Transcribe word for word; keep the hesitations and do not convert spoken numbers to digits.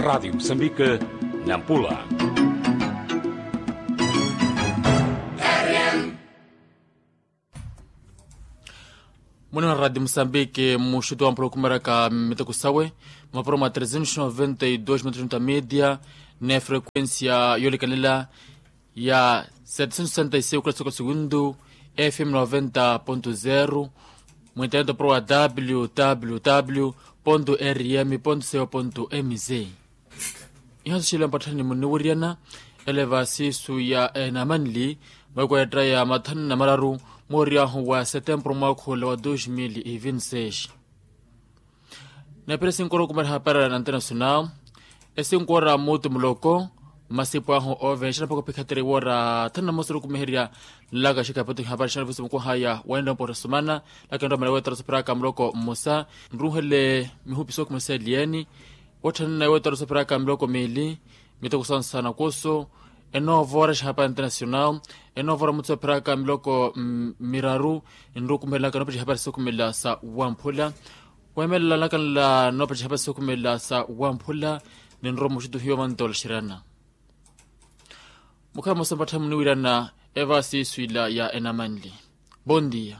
Radiyo musambike, nampula. Muni na radiyo musambike muxutu wa mpula okumaraka miteko sawe, mapuro mwa trezentos noventa e dos metros na media, ne frequencia yolikalela ya setecentos sessenta e cinco kula soko segundu, fm noventa ponto zero, mwinternet opuro wa www rm co mz. Iha nso xile mpatthani muniwiriyana, eleva siisu ya enamanli, mwekwetta ya mathanu na mararu, mooriyahu wa setempuru mwaakhu ola wa dos mil e vinti seis. Neepira esinkora okumera hapara na internasional, esinkora muutu muloko, masipu ahu ovenxa naphaka ophikhateri woora thanu na mosa orukumiherya. Nlaka xikapito hapara xana vusi mukuhaya wendompo otasumana, laka nromela wetora sopheraka muloko mmosa, nruhele mihupi sokumesa elieni, wetthana wetora sopheraka miloko miili, miteko sansana kuso, enoovora xihapari internasional, enoovora mutsu epheraka miloko miraru, nrukumelaka noopettiha hapari sokumela sa wamphula. Weemelela nlaka nla noopettiha hapari sokumela sa wamphula, ninrowa muxutu hiyo mantola xirana. Mukhala mosa mpattha muniwirana, eva siisu ila ya enamanli. Bondia.